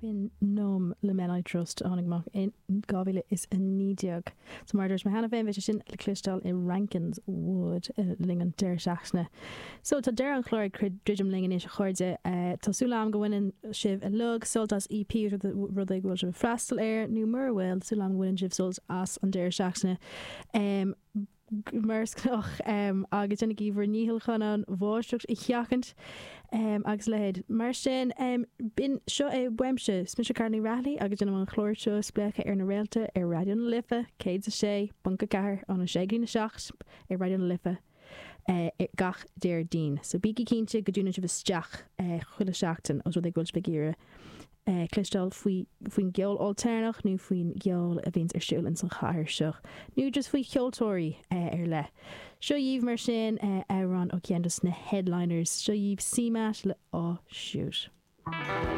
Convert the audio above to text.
B'in Numb le Men I Trust a tháinig amach in 2019. So mar a dúirt mé cheana féin, beidh sé sin le cloisteáil i Rankine's Wood le linn an deireadh seachtaine. So tá deireadh an chláir ag druidim linn anois a chairde. Tá súil agam go mbaineann sibh uilig sult as EP rud é go bhfuil sibh ag freastal air nó mura bhfuil, súil agam go mbaineann sibh sult as an deireadh seachtaine. Mar is gnách, agus déanaigí bhur ndícheall chun an bháisteach a sheachaint agus a leithéid. Mar sin, b'in, seo é uaimse. Is mise Carla Ní Raghallaigh agus déanaim an clár seo Spléachadh ar na Réalta ar Raidió na Life 106.4 óna 6 go dtí a 7 ar Raidió na Life gach Déardaoin. So bígí cinnte go dtiúnann sibh isteach chuile sheachtain os rud é go bhfuil sibh ag iarraidh cloisteáil faoi faoin gceol ailtéarnach nó faoin gceol a bhíonns ar siúl ins an chathair seo nó just faoi cheoltóirí ar leith. Seo dhaoibh mar sin amhrán ó cheann dos na headliners. Seo dhaoibh CMAT le Aw Shoot.